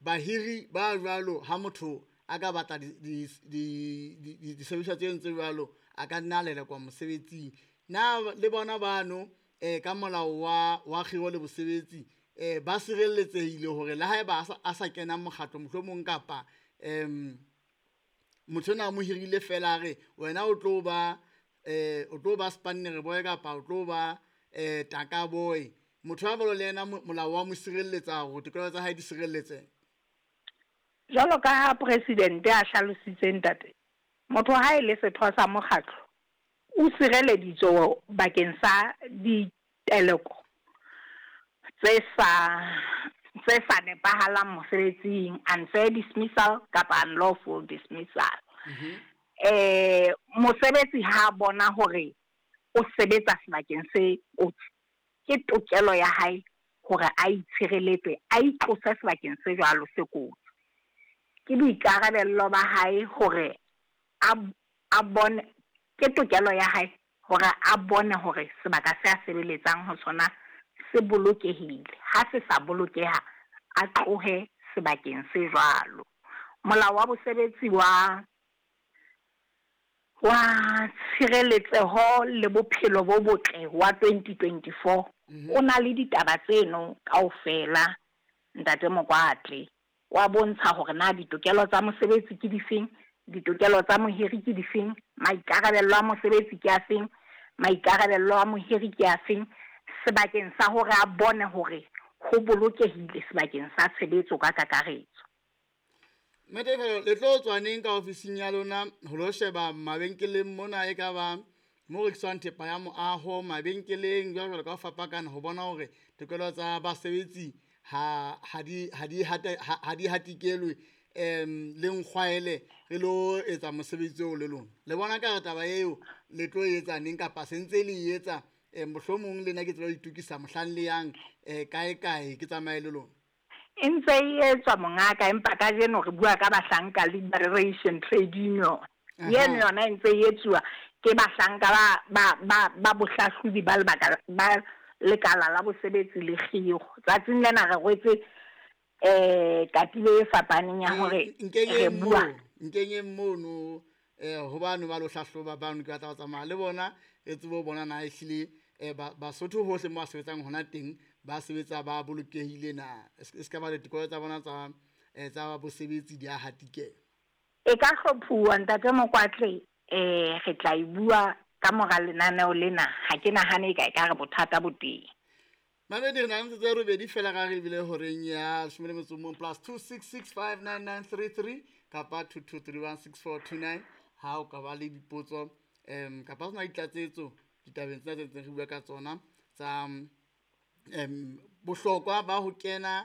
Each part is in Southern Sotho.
Bahiri ba jwalo ha motho a ka batla disebediswa tseno tse jwalo, a ka nna a lelekwa mosebetsing. Na le bona bano ka molao wa kgiro le bosebetsi ba sireletsehile hore le haeba a sa kena mokgatlo mohlomong kapa motho enwa a mo hirile fela a re wena o tlo ba o tlo ba spanner boy kapa o tlo ba taka boy, motho a jwalo le yena molao wa mo sirelletsa hore tokelo tsa hae di sireletsehe? Jwalo ka ha presidente a hlalositse ntate, motho ha e le setho sa mokgatlo o sireleditswe bakeng sa diteleko tse sa tse sa nepahalang mosebetsing, unfair dismissal kapa unlawful dismissal. Mosebetsi ha bona hore o sebetsa sebakeng se kotsi, ke tokelo ya hae hore a itshireletse, a itlose sebakeng se jwalo se kotsi. Ke boikarabello ba hae hore a bone, ke tokelo ya hae hore a bone hore sebaka se a sebeletsang ho sona se bolokehile. Ha se sa bolokeha, a tlohe sebakeng se jwalo. Molao wa bosebetsi wa tshireletseho le bophelo bo botle wa 2024 o na le ditaba tseno kaofela, ntate Mokoatle. Wa bontsha hore na ditokelo tsa mosebetsi ke difeng, ditokelo tsa mohiri ke difeng, maikarabello a mosebetsi ke afeng, maikarabello a mohiri ke afeng, sebakeng sa hore a bone hore ho bolokehile sebakeng sa tshebetso ka kakaretso. Mme le tlo tswa neng ka ofising ya lona ho lo sheba mabenkeleng mona, e ka ba mo rekiswang thepa ya moaho, mabenkeleng jwalo jwalo ka ho fapakana, ho bona hore tokelo tsa basebetsi ha di hatikelwe le nkgwaele re lo etsa mosebetsi oo le lona? Le bona ka re taba eo le tlo etsa neng kapa se ntse le etsa? Mohlomong le nna ke tsebe ho itokisa mohlang le yang kae kae ke tsamaye le lona. E ntse e etswa mongaka, empa kajeno re bua ka Bahlanka Liberation Trade Union. Eno yona e ntse e etsuwa ke bahlanka ba bohlahlobi ba lebaka ba lekala la bosebetsi le kgiro. Tsatsing lena re rwetse katiba e fapaneng ya hore re bua. Nkenyeng mono ho bano ba lo hlahloba bano, ke batla ho tsamaya le bona re tsebe ho bona na ehlile Basotho hohle mo ba sebetsang hona teng ba sebetsa ba bolokehile na, e ska ba le tokelo tsa bona tsa bosebetsi di a hatikela. E ka hlophuwa ntate Mokoatle, re tla e bua ka mora lenaneo lena. Ha ke nahane e ka re bothata bo teng. Mamedi, re na le metsotso e robedi fela ka re ebile horeng ya 11 +266 59933 kapa 22316429 ha o ka ba le dipotso kapa ho sena ditlatsetso ditabeng tsena tse ntseng re bua ka tsona tsa bohlokwa ba ho kena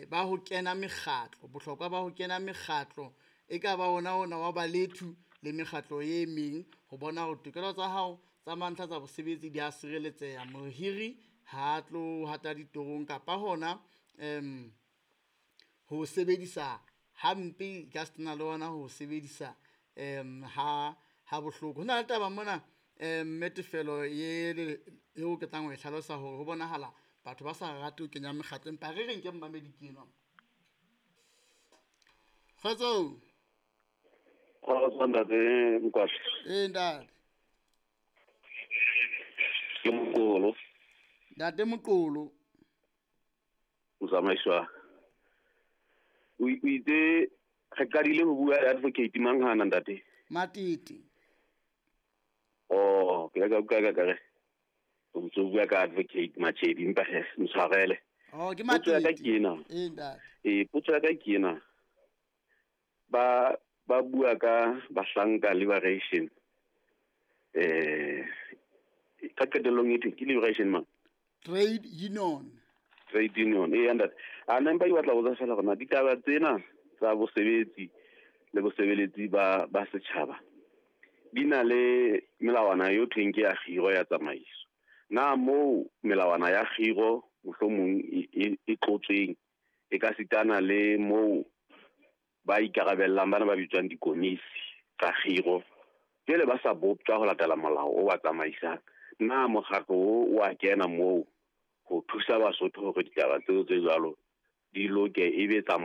ba ho kena mekgatlo, bohlokwa ba ho kena mekgatlo e ka ba ona ona wa balethu le mekgatlo e meng, ho bona hore tokelo tsa hao tsa mantlha tsa bosebetsi di a sireletseha, mohiri ha tlo hata ditorong kapa hona ho sebedisa hampe ka setena le ona ho sebedisa ha bohloko. Ho na le taba mona mme tefelo eo ke tlang ho e hlalosa hore ho bonahala batho ba sa rate ho kenya mekgatlo, empa re reng ke mmamedi ke enwa. Kgotso. Kgotso ntate Mokoatle. Ee ntate. Ke Moqolo. Ntate Moqolo. Motsamaiswa. O itse re qadile ho bua le advocate Manghana ntate? Matete. Oh, ke ka utlwa ka re o ntso bua ka advocate Machedi, empa he ntshwarele. Oh, ke Potso ya ka Matete. ke ena. Ee ntate. Ee, potso ya ka ke ena. Ba bua ka Bahlanka Liberation. Ka qetellong e thwe ke Liberation mang? Trade Union. Trade Union. Ee, ntate. A nna empa ke batla ho botsa fela hore na ditaba tsena tsa bosebetsi le bosebeletsi ba setjhaba di na le melawana eo thweng ke ya kgiro ya tsamaiso. Na moo melawana ya kgiro mohlomong e tlotsweng e ka sitana le moo ba ikarabellang bana ba bitswang dikomisi tsa kgiro, jwale ba sa boptjwa ho latela molao o ba tsamaisang. Na mokgatlo o wa kena moo ho thusa Basotho hore ditaba tseo tse jwalo Di loke, e be tsa molao.